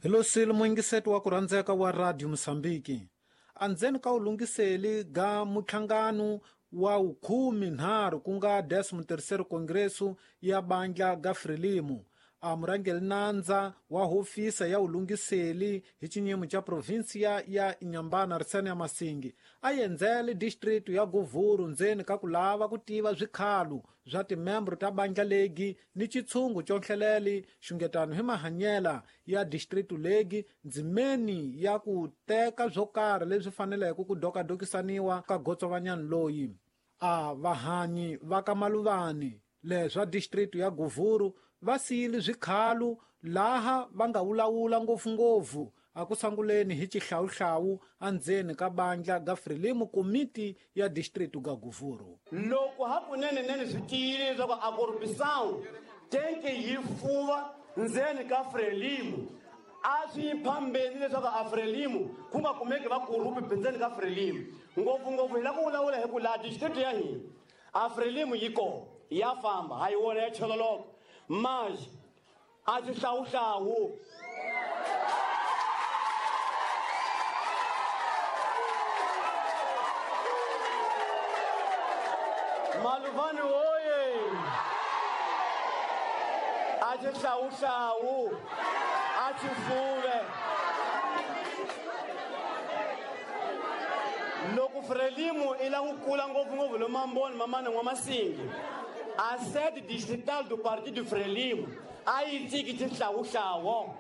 Hi muyingiseti wa ku rhandzeka wa Radio Mosambiki. Andzeni ka ulungiseli ga muhlangano wa 13 ku nga 13º Congresso ya bandla ga Frelimo. A murangeli nandza wa hofisa ya ulungiseli hi xinyimo xa provinsia ya Inhambane Arsênio Masingi a yendzele district ya Govuro ndzeni ka ku lava ku tiva swikhalu swa timembro ta bandla legi ni xitshungu xo hleleli xungetano hi mahanyela ya district legi ndzimeni ya ku teka swo karhi leswi faneleke ku dokadokisaniwa ka gotsovanyana loyi. A vahanyi va ka Maluvani leswa district ya Govuro va siyile swikhalu laha va nga wulawula ngopfungopfu a ku sanguleni hi xihlawuhlawu andzeni ka bandla ga Frelimo komiti ya district ga Govuro. Loko hakunene swi tiyile leswaku a corrupção tenke yi fuva ndzeni ka Frelimo, a swi phambeni leswaku a Frelimo ku nga kumeki va corrupt ndzeni ka Frelimo. Ngopfungopfu hi lava ku vulavula hi ku laha district ya hina a Frelimo yi kona ya famba ha yi wona ya chololoko. Mas a xihlawuhlawu Maluvani oye a xihlawuhlawu a xifuve. Loko Frelimo i lava ku kula ngopfungopfu lomu Mamboni mamana N'wamasingi, a sede distrital do partido Frelimo a yi tiki xihlawuhlawu.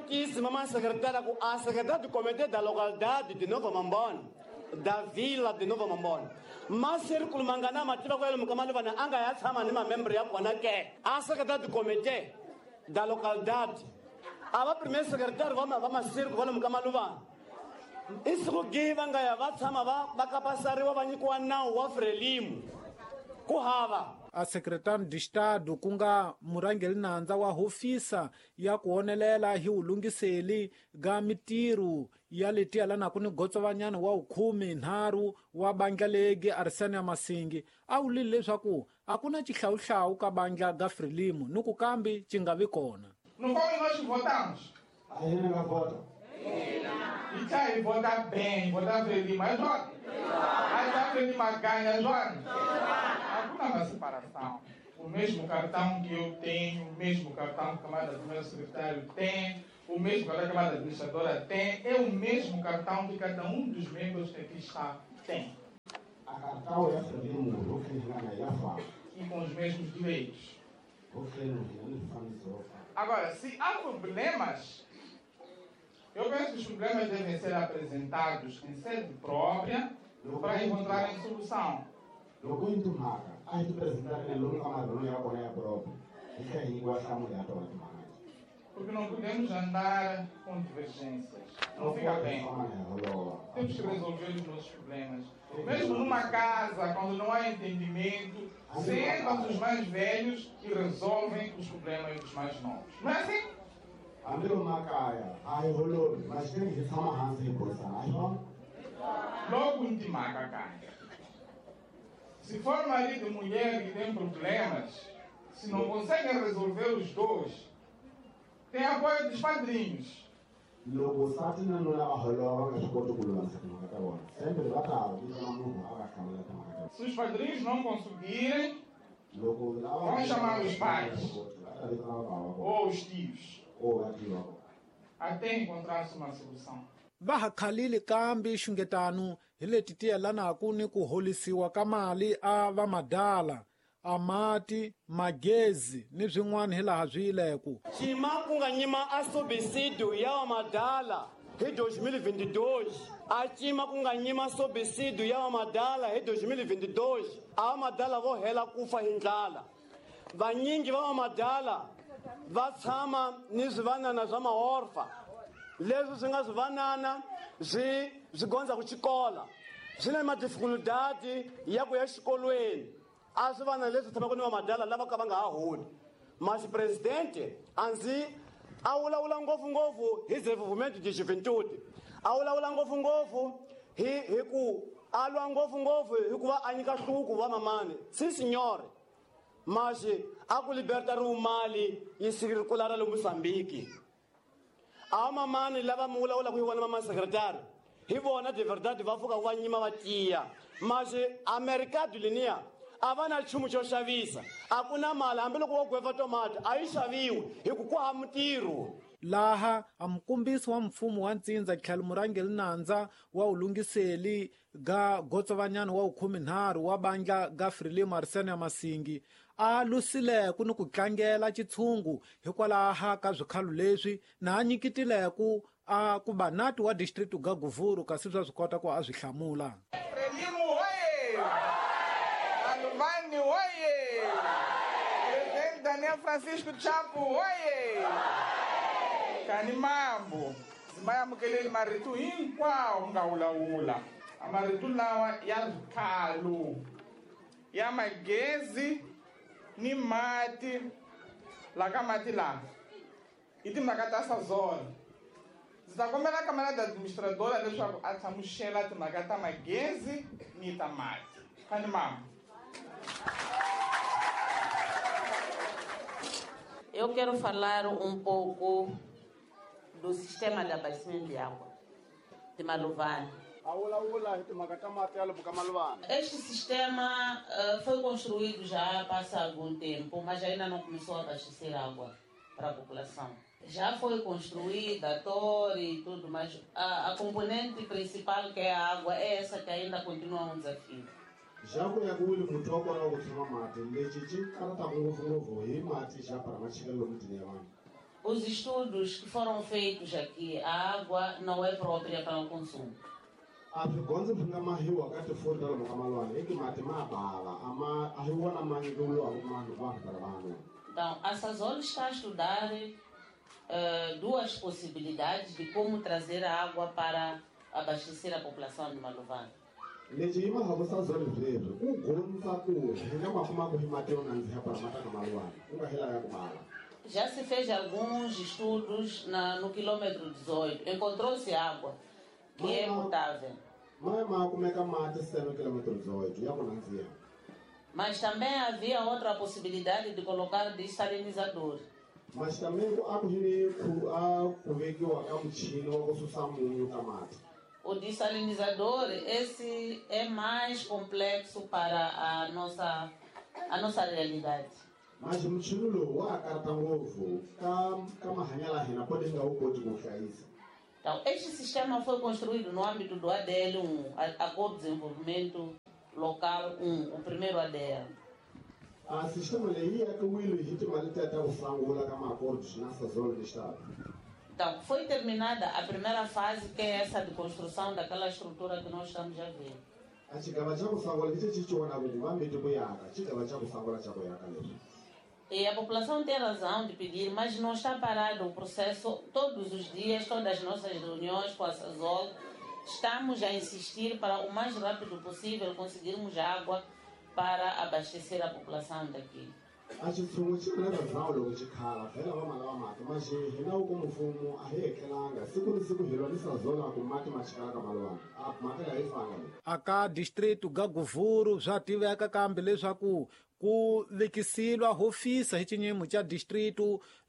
Vutisi mama secretária ku a secretária do comitê da localidade de Nova Mambone, da vila de Nova Mambone, masirikulu mangana mativa ku yalomu ka Maluvani a nga ya tshama ni mamembro ya kona ke. A secretária do comitê da localidade a va primeiro secretário va masirikulu va lomu ka Maluvani i siku gi va nga ya va tshama va kapasariwa va nyikiwa nawu wa Frelimo ku hava. A secretário de Estado ku nga murangeli nandza wa hofisa ya ku honelela hi ulungiseli ga mitirho ya leti yalanaku ni gotsovanyana wa 13 wa bandla legi Arsênio Masingi a wulile leswaku a ku na xihlawuhlawu ka bandla ga Frelimo ni ku kambi xi nga vi kona. Não fomos nós que votamos? A gente não vota. E tá, e vota bem, vota Frelimo, é Joana? Aí tá Frelimo ganha, Joana? Hakuna separação. O mesmo cartão que eu tenho, o mesmo cartão que a camada do meu secretário tem, o mesmo cartão que a camada administradora tem, é o mesmo cartão que cada um dos membros que aqui está tem. A cartão é Frelimo, e com os mesmos direitos. Agora, se há problemas, eu penso que os problemas devem ser apresentados em sede própria para encontrarem solução. Porque não podemos andar com divergências. Não fica bem. Temos que resolver os nossos problemas. Mesmo numa casa, quando não há entendimento, sentam os mais velhos e resolvem os problemas dos mais novos. Não é assim? Logo em Timaca. Se for marido e mulher que tem problemas, se não conseguem resolver os dois, tem apoio dos padrinhos. Se os padrinhos não conseguirem, vão chamar os pais ou os tios até encontrar-se uma solução. Va khalile kambi xungetano hi leti ti yelanaku ni ku holisiwa ka mali a va madala a mati magezi ni swin'wana hi laha swi yileku. Cima ku nga nyima a subsídio ya va madala hi 2022. A cima ku nga nyima subsídio ya va madala hi 2022. A va madala vo hela ku fa hi ndlala. Vanyingi va va madala va tshama ni swivanana swa maorfa. Leswi swi nga swivanana swi gondza ku xikola. Swi na madifikultati ya ku ya xikolweni. A swi vana leswi tshamaka ni va madala lava ka va nga ha holi. Mas presidente anzi a vulavula ngopfungopfu hi desenvolvimento de juventude. A vulavula ngopfungopfu hi ku a lwa ngopfungopfu hikuva a nyika hluku va mamani si signore maxi a ku libertariwa mali yi sirikula ra le Mozambique. A mamani lava mi vulavulaka hi vona mama secretary hi vona de verdade va pfuka va nyima va tiya maxi americado leniya a va na nchumu xo xavisa a ku na mali hambiloko wo gweva tomato a yi xaviwi hi ku ku hava mintirho. Laha a mukombisi wa mfumo wa ntsindza tlhelo murhangeri nandza wa ulungiseli ga gotsovanyana wa 13 wa bandla ga Frelimo Arsene Masingi a lusileku ni ku tlangela xitshungu hikwalaho ka swikhalo leswi na a nyikitileku a ku va nati wa district ga Guvuru kasi swa swi kota ku a swi hlamula. Frelimo hoye! Maluvani hoye! Presidente Daniel Francisco Chapo hoye! Kani mambo ma amukeleli marito hinkwawo nga wulawula marito lawa ya swikhalo ya magezi ni mati la ka mati laha i timhaka ta Sazol. Ndzi ta kombela camarada administradora leswaku a hlamusela timhaka ta magezi ni ta mati. Kani mambo. Eu quero falar um pouco do sistema de abastecimento de água de Maluvane. Este sistema foi construído já passa algum tempo, mas ainda não começou a abastecer água para a população. Já foi construída a torre e tudo, mas a componente principal, que é a água, é essa que ainda continua um desafio. Já ku ya ku wile muthu wa kona ku tshama mati lexi xi karhataka ngopfungopfu hi mati xa para machikelo mutini ya vanhu. Os estudos que foram feitos aqui, a água não é própria para o consumo. A swigondzo swi nga mahiwa ka tifuri ta lomu ka Maluvani i ki mati ma bava a ma a hi wona ma nyikiwaka vanhu vanhu para vanhu. Então, a Sazol está a estudar duas possibilidades de como trazer a água para abastecer a população de Maluvani. Lexi yi mahaka Sazol sweswi ku gondza ku hi nga ma kumaka hi mati yo nandziha para mata ka Maluvani ku nga hela ya ku bava. Já se fez alguns estudos no quilômetro 18. Encontrou-se água, que é mutável. Mas ma kumeka mati no quilômetro 18, ya ku nandziha. Mas também havia outra possibilidade de colocar dessalinizador. Mas também a ku vekiwa ka muchini wa ku susa munyu ka mati. O dessalinizador, esse é mais complexo para a nossa realidade. Mas muchini lowu wa karata ngopfu ka mahanyelo ya hina po ni nga wu koti ku hlayisa. Então, este sistema foi construído no âmbito do ADL 1, Acordo de Desenvolvimento Local 1, o primeiro ADL. A sistema leyi yi akiwile hi timali ta ku sungula ka maacordos na Sazol do Estado. Então, foi terminada a primeira fase, que é essa de construção daquela estrutura que nós estamos a ver. A xigava xa ku sungula lexi xi vonaka ku va miti ku yaka, xigava xa ku sungula xa ku yaka leswi. E a população tem razão de pedir, mas não está parado o processo. Todos os dias, todas as nossas reuniões com a Sazol, estamos a insistir para o mais rápido possível conseguirmos água para abastecer a população daqui. A xitshungu xi na razão loko xi khala vhela va ma lava mati mas hina wu ku mfumo a hi hetlelanga siku ni siku hi lwa ni Sazol ku mati ma chikala ka Maluvani a mhaka leyi a yi fanga leyi. Aka district ga Guvuru swa tiveka kambe leswaku ku vekisiliwa hofisa hi xinyimo xa district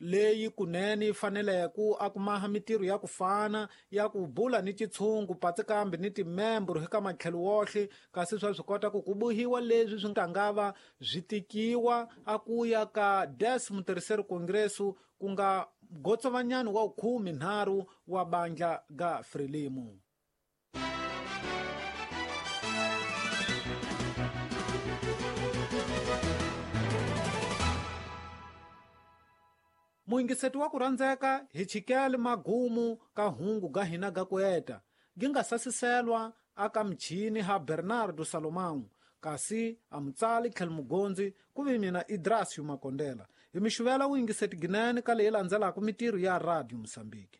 leyi kunene yi faneleke a kumaha mintirho ya ku fana ya ku bula ni xitshungu patsi kambe ni timembro hi ka matlhelo wohle kasi swa swi kota ku kubuhiwa leswi swi nga nga va swi tikiwa a ku ya ka 13º Congresso ku nga gotsovanyana wa 13 wa bandla ga Frelimo. Muingiseti wa ku rhandzeka hi chikele magumu ka hungu ga hina ga kueta gi nga sasiselwa aka michini ha Bernardo Salomão kasi a mutsali tlhelo mugondzi ku vi mina Idrasio Makondela hi mixuvela uyingiseti ginene ka leyi landzelaka mitirho ya Radio Mozambique.